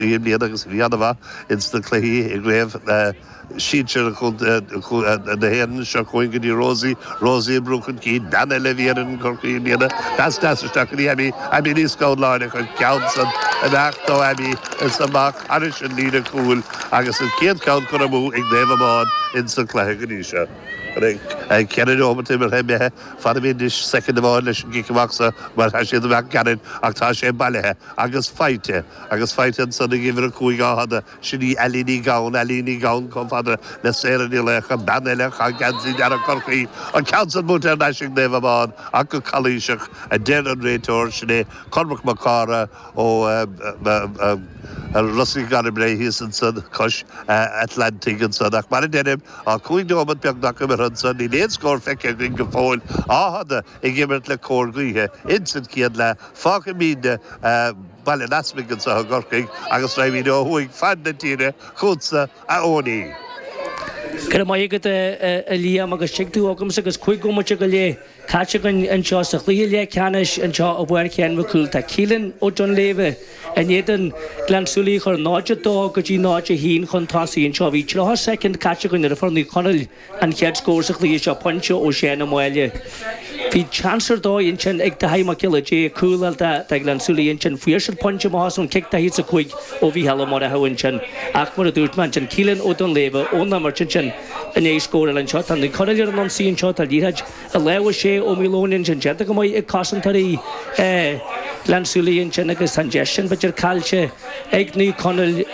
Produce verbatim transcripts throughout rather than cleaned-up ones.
I mbliana agus bhí an-mhaith ins na cluichí i gcraobh sinsir na hÉireann. Seo chugainn go dtí Rosie. Rosie ag brú chun cinn, bean eile a bhí ar an Chorcaí i mbliana. Pas deas isteach go dtí Abby. Abby Ní Scanláin, an ceann san amach ó Abby is amach thairis an líne cúil agus an chéad cheann curtha amú ag Naomh Abán ins an cluiche go dtí seo. Ceithre neomat imeartha imithe. Fanfaimid anois soicind amháin leis an gcic amach seo mar tá siad amach gairid ach tá sé bailithe agus faighte agus faighte ansan ag uimhir a cúig, Áth Fhada. Sin í Ailín Ní Ghabhann. Ailín Ní Ghabhann chomh fada le Sarah Ní Laocha, bean eile a chaith geansaí dearg Chorcaí. An ceann san buailte thar n-ais ag Naomh Abán ach go calaoiseach, a deir an réiteoir. Sin é Cormac Mac Cártha ó Ros an Mhíl thíos ansan cois Atlantaigh ansan. Ach mar a deirim, tá cúig neomat beagnach imeartha ansan, níl aon scór feicthe againn go fóill. Áth Fhada ag imirt le cóir gaoithe ins an chéad leath. Fágfaimidne Baile an Easmaig anseo i gCorcaigh agus raghaimid ó thuaidh fad na tíre chugatsa, a Eoiní. Go raibh maith agat, a Liam, agus tig tú agamsa agus cúig bhomaite go leith caite againn anseo sa chluiche leathcheannais anseo i bPáirc Sheáin Mhic Cumhaill. Tá Keelan Ó Duinnshléibhe in éadan Gleann tSúilí a chuir náid a dó go dtí náid a haon chun tosaigh anseo. Bhí tríocha soicind caite againn nuair a fuair Naomh Conaill an chéad scór sa chluiche seo, pointe ó Sheán Ó Máille. Bhí seans ar dóigh ansin ag Daithí Mac Giolla Dé cúl a fháil do Ghleann tSúilí ansin. Fuair siad pointe amach as ón cic daichead is a cúig ó Mhícheál Ó Murchú ansin. Ach mar a dúirt mé ansin, Keelan Ó Duinnshléibhe ón imirt ansin i ndiaidh scór eile anseo. Tá Naomh Conaill ar an ionsaí anseo. Tá liathróid i lámha Shea Ó Maoileoin ansin. Déanta go maith ag cosantóirí Ghleann tSúilí ansin agus tá an deis sin b'fhéidir caillte ag Naomh Conaill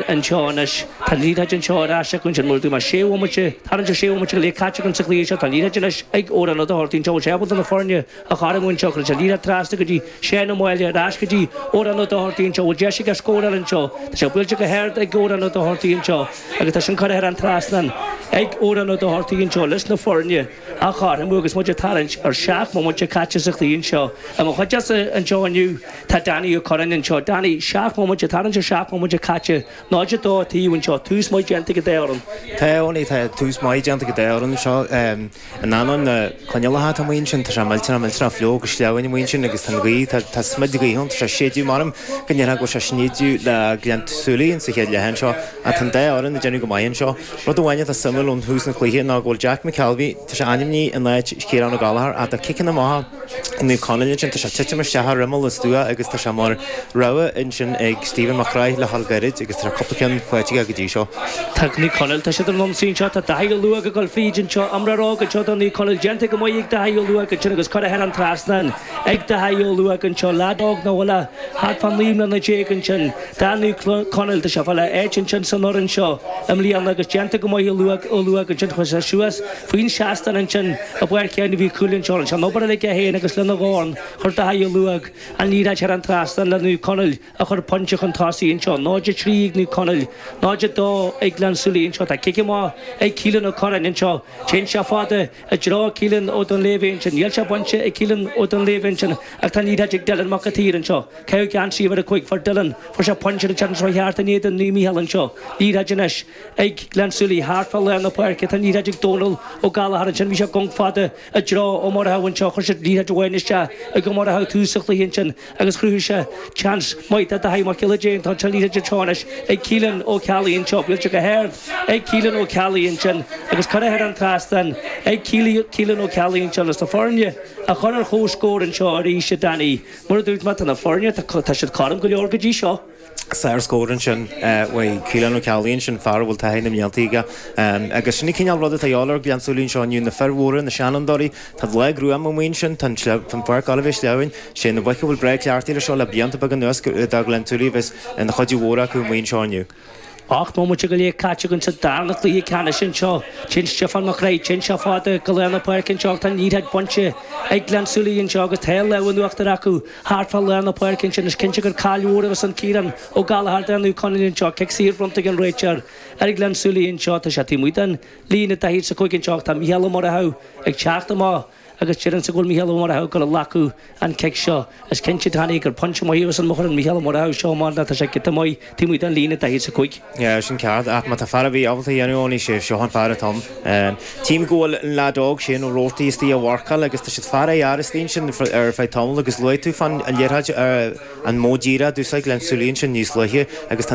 anseo anois. Tá an liathróid anseo ar ais acu ansin. Mar a dúirt mé, sé bhomaite, tarraingt ar sé bhomaite go leith caite againn sa chluiche seo. Tá an liathróid anois ag Odhrán Ó Dochartaigh anseo. Bhfuil sé ábalta na foirne a chothromú anseo? Cuireann sé an liathróid trasna go dtí Seán Ó Máille, ar ais go dtí Odhrán Ó Dochartaigh anseo. Bhfuil deis aige scóráil anseo? Tá sé buailte go hard ag Odhrán Ó Dochartaigh anseo agus tá sin curtha thar an trasnán ag Odhrán Ó Dochartaigh anseo leis na foirne a chothromú agus muid ag tarraingt ar seacht mbomaite caite sa chluiche anseo. I mo chuideachta anseo inniu tá Danny Ó Curráin anseo. Danny, seacht mbomaite, tarraingt ar seacht mbomaite caite, náid a dó taobh anseo, tús maith déanta ag an dá fhoireann. Tá, Eoiní, tá tús maith déanta ag an dá fhoireann anseo. In ainneoin na coinníollacha atá amuigh ansin, tá sé millteanach, millteanach fliuch agus sleamhain amuigh ansin agus tá an ghaoth, tá, tá smid gaoithe ann, tá sé ag séideadh, measaim go ndéarfá go bhfuil sé ag snídeadh le Gleann tSúilí insa chéad leath anseo ach tá an dá fhoireann ag déanamh go maith anseo. Rud amháin atá suimiúil ón thús an chluiche ná go bhfuil Jack McKelvey, tá sé ainmnithe in áit Chiarán Ó Gallchóir ach tá ciceanna maithe ag Naomh Conaill ansin, tá sé ag titim isteach ar imeall an stua agus tá sé mar rogha ansin ag Stephen Mac Craith le dhul gairid agus tá cúpla ceann faighte aige go dtí seo. Tá Naomh Conaill, tá siad ar an ionsaí anseo, tá Daithí Ó Luaigh ag dul fríd anseo, imreoir óg anseo do Naomh Conaill, déanta go maith ag Daithí Ó Luaigh ansin agus curtha thar an trasnán ag Daithí Ó Luaigh anseo, leaid óg nach bhfuil ach thart fá naoi mbliana déag ansin do Naomh Conaill, tá sé ag fáil a áit ansin san fhoireann seo i mbliana agus déanta go maith ag Ó Luaigh ansin, chuaigh sé suas faoin seastán ansin i bPáirc Sheáin Mhic Cumhaill anseo, an obair uilig aige féin agus lena dhorn chuir Daithí Ó Luaigh an liathróid thar an trasnán le Naomh Conaill a chur pointe chun tosaigh anseo. náid a trí ag Naomh Conaill, náid a dó ag Gleann tSúilí anseo. Tá cic amach ag Keelan Ó Curráin anseo. Téann sé fada i dtreo Keelan Ó Duinnshléibhe ansin. Níl sé bainte ag Keelan Ó Duinnshléibhe ansin ach tá an liathróid ag Dylan Mac an tSaoir anseo. Caitheadh geansaí uimhir a cúig. Fuair Dylan, fuair sé pointe an tseachtain seo thart in éadan Naomh Mícheál anseo. Liathróid anois ag Gleann tSúilí thart fá lár na páirce. Tá an liathróid ag Dónal Ó Gallchóir ansin. Bhí sé ag gonc fada i dtreo Ó Murchú anseo. Chuir siad liathróid amháin isteach ag Ó Murchú tús an chluiche ansin agus chruthaigh sé seans maith do Daithí Mac Giolla Dé. Tá an liathróid anseo anois ag Keelan Ó Ceallaigh anseo. Buailte go hard ag Keelan Ó Ceallaigh ansin agus curtha thar an trasnán ag Keelan Ó Ceallaigh anseo leis na foirne a chur ar comhscór anseo arís, a Danny. Mar a dúirt mé, tá na foirne, tá siad cothrom go leor go dtí seo. Sár-scór ansin uaidh Keelan Ó Ceallaigh ansin, fear a bhfuil taithí na mblianta aige. Agus sin an cineál rud atá a dhíobháil ar Ghleann tSúilí anseo inniu, na fir mhóra, na seanfhondúirí. Tá lá gruama amuigh ansin, tá an pháirc ag gabháil a bheith sleamhain. Sé na boic a bhfuil breá cleachtaithe leis seo le blianta beaga anuas do Ghleann tSúilí a bheas ina chuidiú mhór acu amuigh anseo inniu. Ocht mbomaite go leith caite againn sa darna cluiche ceannais anseo. Téann Stiofán Mac Craith, téann sé fada go lár na páirce anseo ach tá an liathróid bainte ag Gleann tSúilí anseo agus tá an lámh in uachtar acu thart fá lár na páirce ansin. Is cinnte gur caill mhór a bheas ann Ciarán Ó Gallchóir do Naomh Conaill anseo. Cic saor bronnta ag an réiteoir ar Ghleann tSúilí anseo. Tá sé taobh amuigh den líne daichead is a cúig anseo ach tá Mícheál Ó Murchú ag teacht amach agus déarfainnse go bhfuil Mícheál Ó Murchú ag gabháil a ghlacadh an cic seo. Is cinnte Danny gur pointe maith a bheas an ar Mícheál Ó Murchú seo mar tá sé giota maith taobh amuigh den líne daichead is a cúig. Yeah, sin ceart ach má tá fear ar bith ábalta a dhéanamh ann sé seo an fear atá ann. Tím go bhfuil an leaid óg Shane O'Rourke istigh á mharcáil agus tá siad fear a istigh sin ar feadh tamall agus luaigh tú fan an liathróid an modh díreach d'úsáid Glenn Sully sin níos luaithe agus tá